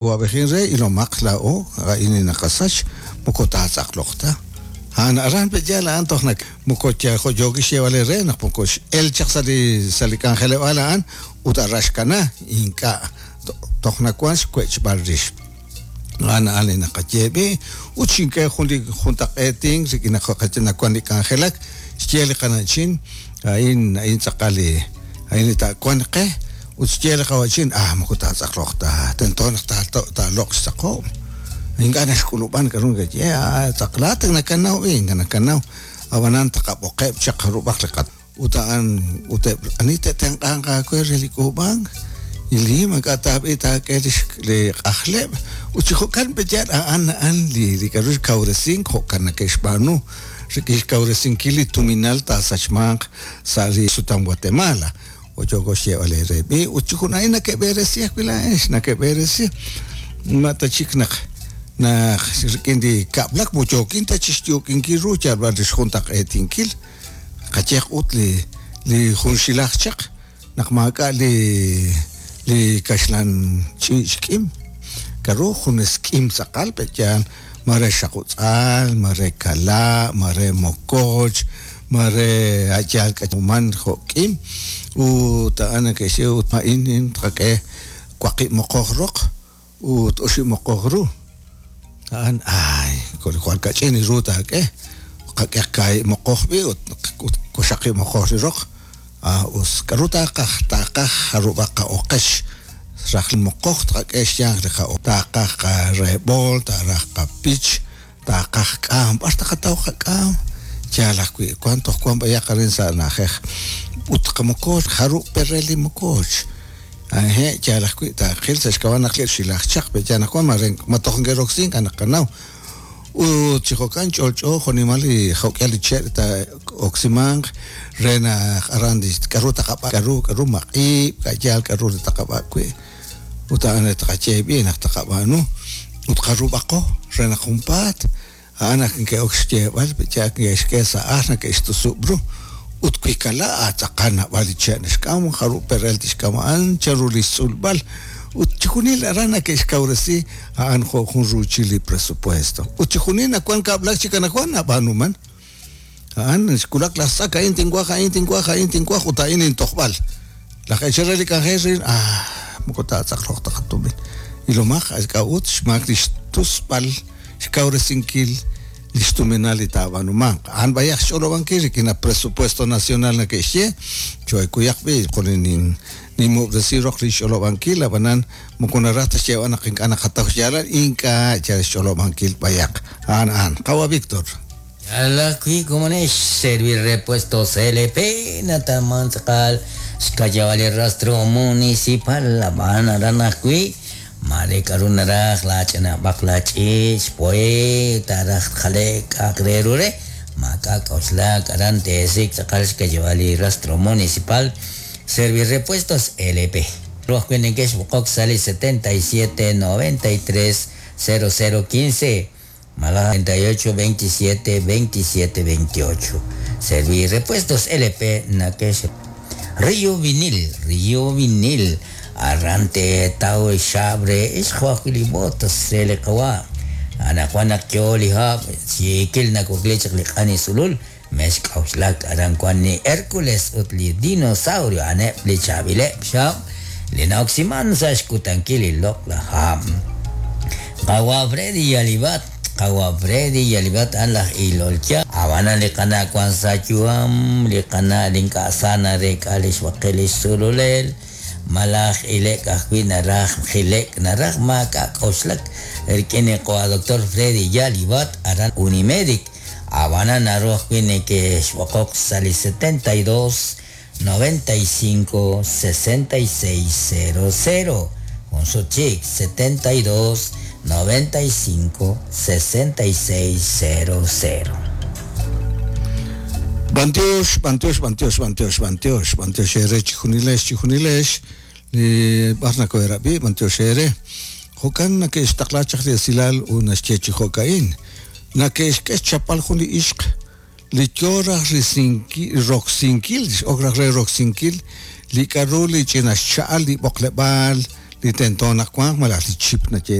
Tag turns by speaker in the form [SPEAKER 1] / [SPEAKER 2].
[SPEAKER 1] Awa'b'ejin re ilomaq laa'o a'in li naqasach, moko taatz'aqloq ta. A'an aran pe' yaal a'an toj nak moko yal jo' yookin xyeeb'al eere naq moko x'el chaq sa' li sa' li k'anjeleb'aal a'an ut aran xkana, ink'a' toj nawan xwech'b'al rix. A'an a'an li naqaye b'i' ut xink'e jun li juntaq'eetink rik'in naq jo'q'e nawan li k'anjelak, xye li qana'chin a'in a'in tz'aqal li a'in li taawanq qe. Ut xye li qawa'chin, Ah, moko taatz'aqloq ta, tento naq taaloq' xtz'aqob'. Ink'a' naxk'ulub'an k'aru nakaye, ah, tz'aqlaat nakanaw b'i, ink'a' nakanaw. Ab'anan taqab'oqeb' chaq jarub'aq li qat. Ut a'an, ut eb' ani te'tenq'anq aawe re li k'uub'ank, li maak'a' taab'i taak'e lix li q'ajleb'. Ut chi jo'kan pe' yaal a'an a'an li li k'aru xkawresink jo'kan nake'xb'aanu rik'in xkawresinkil li tuminal taasachmanq sa' li sutam Guatemala. Jo' yooko xyeeb'al eere b'i', ut chi jun a'in nakeb'eresi ajwi' laa'ex, nakeb'eresi. Ma ta chik naq naq rik'in li kab'lak moko yookin ta chixyuuk'inkil ru yal b'an li xjuntaq'eetinkil. Qayehaq ut li li junxilaj chaq naq maak'a' li li kaxlan ch'iich' k'im, k'a'ru junes k'im tz'aqal pe' yaal mare xaqutz'al, mare kala', mare mokoch, mare a' yaal k'achuman jo' k'im, ut a'an neke'xye ut a'in in tqak'e waqib' moqoj roq ut oxib' moqoj ru. A'an ay, jwal kach'in li ru taak'e, qak'ehaq kaahib' moqoj b'i' ut ut waxaqib' moqoj li roq. Ah, us. K'aru taaqaj? Taaqaj jarub'aq qa'oqex. Rajl moqoj tqak'e xyanq li qa'oq. Taaqaj qareb'ool, taaraj qapich, taaqaj k'aam. B'ar taqataw qak'aam? Yaal ajwi', wank toj wank b'ayaq arin sa' na'ajej. Ut qamokooch, jarub' perel li mokooch? Hehe', yaal ajwi', taaqil sa' xk'ab'a' naq xilaj chaq, pe' yaal naq wank, mare ma toj neke'roksi ink'a' naqanaw. Ut chi jo'kan ch'olch'o jo'nimal li jo'k'ihal li che' li taa'oksimanq re naq aran li k'a'ru taqab'ak', k'a'ru k'a'ru maq'ib', a' yaal k'a'ru li taqab'ak' wi'. Ut a'an li taqaye b'i' naq taqab'aanu ut qarub'aqo re naq junpaat a'an naq neke'ok xyeeb'al, yaal neke'xk'e sa' ajl neke'xtusub' ru. Ut wi kala' a tz'aqal naab'al li che' naxk'am, jarub' perel tixk'am a'an, chanru li xtz'ulb'al. Ut chixjunil aran neke'xkawresi A'an jo' jun ruuchil li presupuesto. Ut chixjunil nawank kab'lak chik anaqwan nab'aanuman. A'an xwulak laj tz'ak, a'in tinwaj, a'in tinwaj, a'in tinwaj ut a'in intojb'al. Laj eechal re li k'anjel ril, ah, moko taatz'aqloq ta qatumin. Ilomaq, k'a'ut xmaak li xtusb'al xkawresinkil li xtuminal li taab'aanumanq. A'an b'ayaq xch'olob'ankil rik'in a presupuesto nacional nake'xye, choohekuyaq b'i' qolin Ninmub'resi roq li xch'olob'ankil, ab'anan moko naraj ta xyeeb'al naq ink'a' naqataw xyaalal, ink'a' yal xch'olob'ankil b'ayaq. A'an a'an. Qawa' Victor.
[SPEAKER 2] Yaal ajwi' komonex Servirepuestos LP natawman tz'aqal xkayab'al li rastro municipal, ab'an aran ajwi' maare k'a'ru naraj laach'anab'aq laach'iich' xpo'e taaraj jale'k k'a'aq re ru re maak'a' k'oxlak aran teesik' tz'aqal xkayab'al li rastro municipal. Servirepuestos LP. Ru ajwi' neke'xb'oqok sa' li 77 93 00 15 malaj 38 27 27 28. Servirepuestos LP nake'x Rio Vinil, Rio Vinil, aran teetaw xxaab' re ixq jo' ajwi' li botas re li qawa'. Anaqwan naq yoo li hab', xiikil nawakli chaq li q'ani sulul, Mexk'a'uxlak, aran wank li Hércules ut li Dinosaurio a'aneb' li chaab'ileb' xhab' li na'oksiman sa' xkutankil li loq'laj hab'. Qawa' Freddy Yalibat, Qawa' Freddy Yalibat a'an laj ilol yaal. Ab'anan li qana' wank sa' yu'am, li qana' li ink'a' sa nareek'a li xb'aqel li xsululel, malaj ilek' ajwi' naraj jilek' naraj maak'a' k'oxlak rik'in li qawa' Doctor Freddy Yalibat aran Unimedic. Ab'anan naru ajwi' neke'xb'oqoq sa' li 72 95 66 00, jun sut chik, 72 95 66 00.
[SPEAKER 1] B'antiox, b'antiox, b'antiox, b'antiox, b'antiox, b'antiox eere chijunilex, chijunilex li b'ar nakoheerab'i, b'antiox eere. Jo'kan nake'xtaqla chaq li esilal ut naxye chi jo'ka'in. Nake'xk'e xchapb'al jun li ixq li yo raj risinkil, roksinkil, x'ok raj re roksinkil li k'a'ru li ch'ina xcha'al li b'oqleb'aal li tento naq wanq malaj li chip naye.